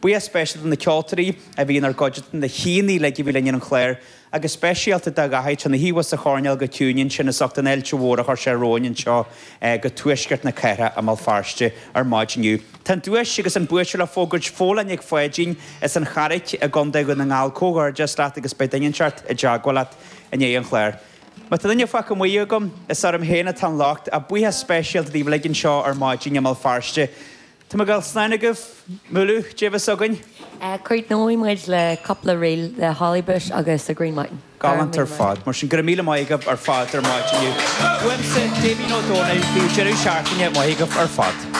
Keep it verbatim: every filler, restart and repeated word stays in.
Buíochas speisialta do na ceoltóirí a bhí inár gcuideachta, na haíonna uilig a bhí linn ar an chlár, agus speisialta do Dhaithí, ina shuí thuas sa choirnéal go ciúin ansin as ucht an fháilte mhór a chuir sé romhainn anseo go tuaisceart na cathrach i mBéal Feirste ar maidin inniu. Tá an duais agus an buaiteoir le fógairt Folláin Nic Pháidín as an Charraic i gContae Dhún na nGall. Comhghairdeas leat agus beidh duine inteacht i dteagmháil leat i ndiaidh an chláir. Má tá duine fágtha amuigh agam, is orm féin atá an locht, ach buíochas speisialta daoibh uilig anseo ar maidin i mBéal Feirste. Tá mé ag dul slán agaibh, Múlú, Dé bheith againn. Críochnóidh muid le cúpla ríl le Hollybush agus The Green Mountain. Galánta ar fad. Mar sin go raibh míle maith agaibh ar fad ar maidin inniu. Uaimse, Damien Ó Dónaill, bíodh deireadh seachtaine maith agaibh ar fad.